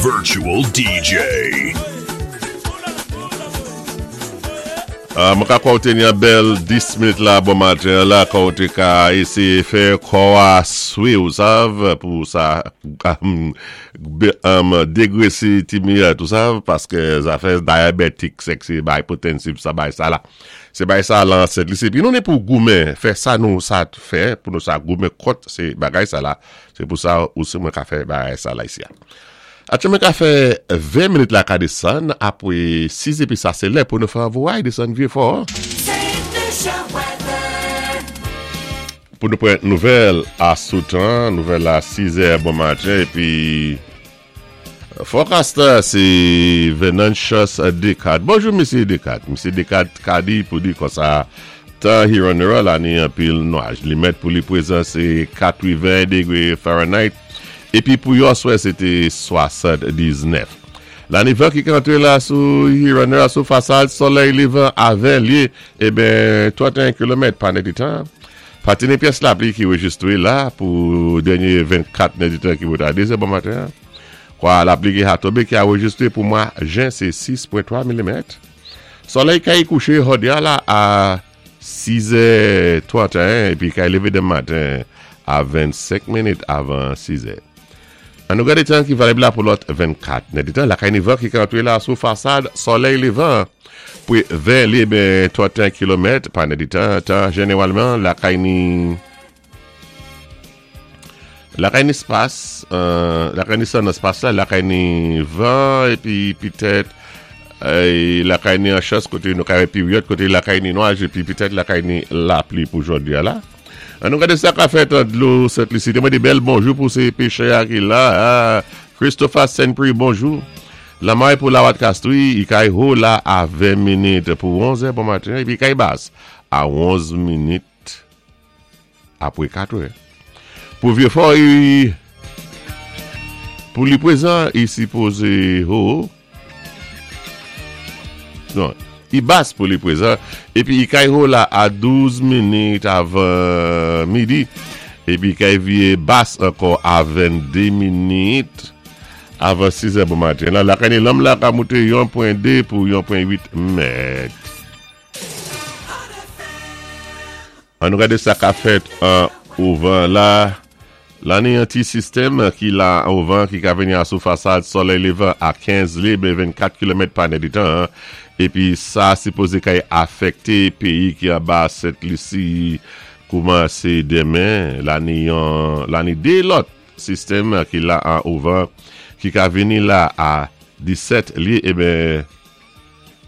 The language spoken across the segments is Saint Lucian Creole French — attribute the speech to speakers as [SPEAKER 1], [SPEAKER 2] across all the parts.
[SPEAKER 1] Virtual DJ.
[SPEAKER 2] Mwen ka kwè ou te ni yon bèl 10 minit la bon maten an la kò ou te ka eseye fè kò a swe ou sav pou sa degrese ti miyèt ou sav paske zafè diabetic sèk se bay hypotensive sa bay sa la se bay sa la ansent li se pi nou ni pou goumen fè sa nou sa fè pou nou sa goumen kont se bagay sa la Se pou sa ou se mwen ka fè bagay sa la isi a. Atchou mwen ka fè 20 minit la ka desann apre 6 epi sa se lè pou nou fè anvouay desann vye fò. Pou nou pran nouvèl a sou tan, nouvèl a 6 è bon maten epi Forecast la se Venantius Descartes. Bonjou mesye Descartes. Mesye Descartes ka di pou di konsa tan Huron-Nera la ni anpil nwaj. Limèt pou li prezan se 80 degre Fahrenheit epi pou yòswè se te 79. La ni van ki ka antre la sou Huron-Nera sou fasad solèy levan a 20 lye eben 31 kilomèt pa nèditan. Pa te ni pyès lapli ki rejistre la pou dènye 24 nèditan ki wot a 2 zè bon maten an. Kwa lapli ki ha tonbe ki a rejistre pou mwa jen se 6.3 milimèt. Solèy kay kouche jodi a la a 6 zè 31 epi kay leve demen maten a 25 minit avan 6 zè. An nou gade tan ki valab la pou lòt 24 nèditan. Lakay ni van ki ka antre la sou fasad solèy levan pre 20 li eben 31 kilomèt pa nèditan. Tan jeneralman lakay ni lakay ni spas lakay ni san nan spas la lakay ni van epi petèt lakay ni an chans kote nou ka wè peryòd kote lakay ni nwaj epi petèt lakay ni lapli pou jodi a la. An nou gade sa ka fèt an dlo Sent Lisi. Te mwen di bèl bonjou pou se pechè a ki la a. Christopher Senpri bonjou. Lamay pou Lawat Kastri, i kay ho la a 20 minit pou 11 è bon maten epi kay bas a 11 minit apre 4 è. Pou Vyefò i pou li prezan i sipoze ho. Non, i bas pou li prezan, epi i kay ho la a 12 minit avan midi, epi i kay vye bas ankò a 22 minit avan 6 è bon maten. La lakay ni lanm la ka moute yon pwen 2 pou yon pwen 8 mèt. An nou gade sa ka fèt an ovan la. Lani yon ti sistèm ki la an ovan ki ka vini a sou fasad solèy levan a 15 li ben 24 kilomèt pa nèditan an epi sa sipoze kay afèkte peyi ki anba Sent Lisi koumanse demen. Lani yon lani 2 lòt sistèm ki la an ovan ki ka vini la a 17 li e ben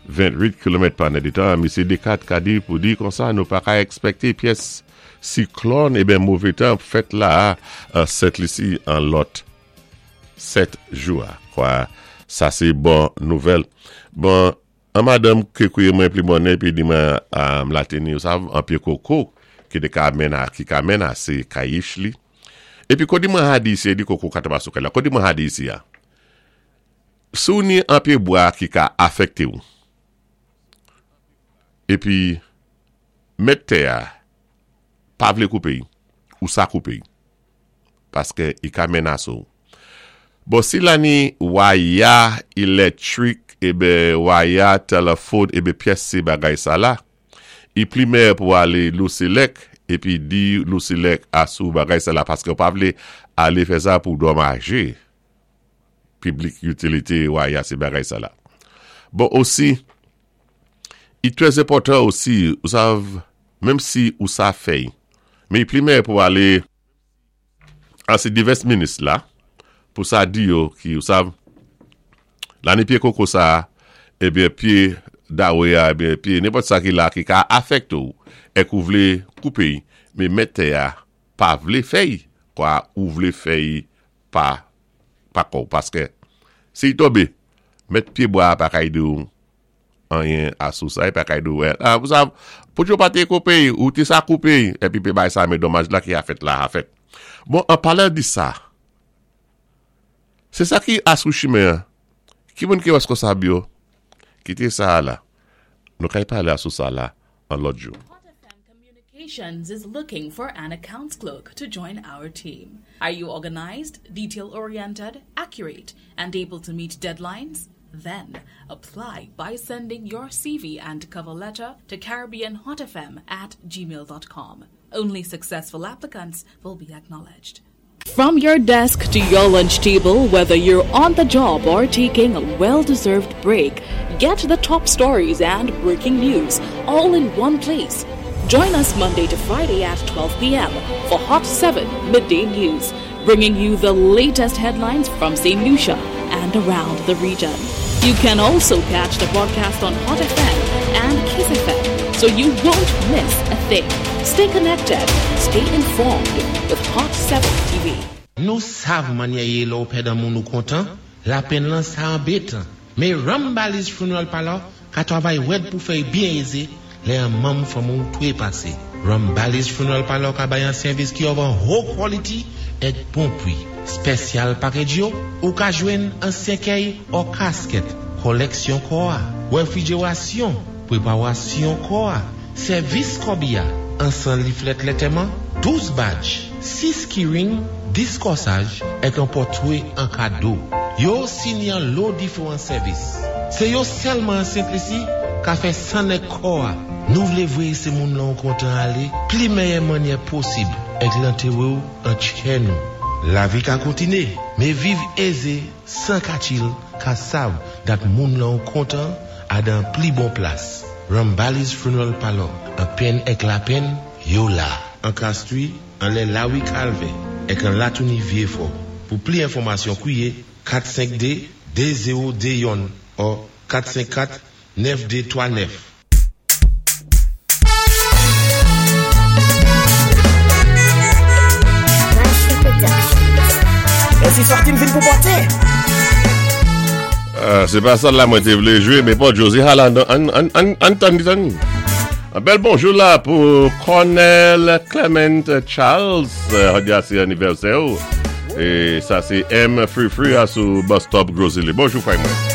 [SPEAKER 2] 28 kilomèt pa nèditan. Misye Descartes ka di pou di konsa nou pa ka ekspekte pyès Siklòn eben move tan ap fèt la a an Sent Lisi an lòt 7 jou a kwa sa se bon nouvèl bon an madanm ke kouye mwen pli bonè epi di mwen a m lateni ou sav an pye koko ki te ka mena ki ka menase kayich li epi kodi mwen hadi isi e di koko ka tabasou kay la kodi mwen hadi isi a si w ni an pye bwa ki ka afekte w epi Mèt tè a pa vle koupe y, ou sa koupe y. Paske i ka menase w. Bon si la ni waya ilètrik eben waya tèlèfon eben pyès se bagay sa la, i pli mèyè pou ale Lousilèk epi di Lousilèk a sou bagay sa la paske ou pa vle ale fè sa pou dòmaje piblik itilite waya se bagay sa la. Bon osi. I trè enpòtan osi, ou sav, menm si ou sa fèy, men i pli mèyè pou ale a se divès minis la, pou sa di yo ki, ou sav, lane pye koko sa a, ebyen pye dawe a, ebyen pye nenpòt sa ki la ki ka afèkte ou, èk ou vle koupe y, men mèt tè a pa vle fèy, kwa ou vle fèy pa pa kòw, paske si y tonbe, mèt pye bwa a pa ka ede ou. Anyen a sou sa e pa kay do wè a pou sa pou yo pa te koupe ou te sa koupe epi pe bay sa men domaj la ki a fèt la a fèt bon an palan di sa se sa ki a sou chimen an ki moun ki reskonsab yo kite sa a la nou kay pale a sou sa la an lòt jou.
[SPEAKER 3] Hot FM Communication. Communications is looking for an accounts clerk to join our team. Are you organized, detail oriented, accurate, and able to meet deadlines? Then apply by sending your CV and cover letter to CaribbeanHotFM at gmail.com. Only successful applicants will be acknowledged. From your desk to your lunch table, whether you're on the job or taking a well deserved break, get the top stories and breaking news all in one place. Join us Monday to Friday at 12 p.m. for Hot 7 Midday News, bringing you the latest headlines from St. Lucia and around the region. You can also catch the broadcast on Hot FM and Kiss FM, so you won't miss a thing. Stay connected, stay informed with Hot 7 TV.
[SPEAKER 4] Nou sav mannyè yé lè-w pèd an moun ou kontan, lapenn lan sa anbétan. Mé Rambali's Funeral Parlor ka twavay wèd pou fè-y byen ézé lè an manm fanmi-w twépasé. Rambali's Funeral Parlor ka bay an sèvis ki of an ho quality èk bon pwi. Spèsyal package yo, ou ka jwenn an sèkèy or casket, kòlèksyon kò-a, wèfrijerasyon, pwépawasyon kò-a, sèvis kòbi-a, ansan liflèt lètèman, 12 badge, 6 keyring, 10 kòsaj, èk an pòtwé an kado. Yo osi ni an lo diféwan sèvis. Sé yo sèlman an Sent Lisi ka fè nèg kò-a. Nou vlé vwéyé sé moun lan ou kontan alé pli mèyè mannyè posib èk lantéwé-w an tchè nou. Lavi ka kontiné, mé viv ézé 104 il ka sav dat moun lan ou kontan a dan pli bon plas. Rambali's Funeral Parlor, an penn èk lapenn, yo la. An Castries, anlè Lawi Kalvè, èk an Latouni Vyéfò. Pou pli enfòmasyon kwiyé 452 2021 or 454 9239.
[SPEAKER 5] Mèsi sòti m vin pou pòte.
[SPEAKER 2] Se pa sa la mwen te vle jwe, men bon Josie Holland, ann tann li tann. Un bel bonjou la pou Cornel Clement Charles, jodi a se anivèsè ou. E sa se M Free Free a sou bus stop Gros Islet. Bonjou frè mwen.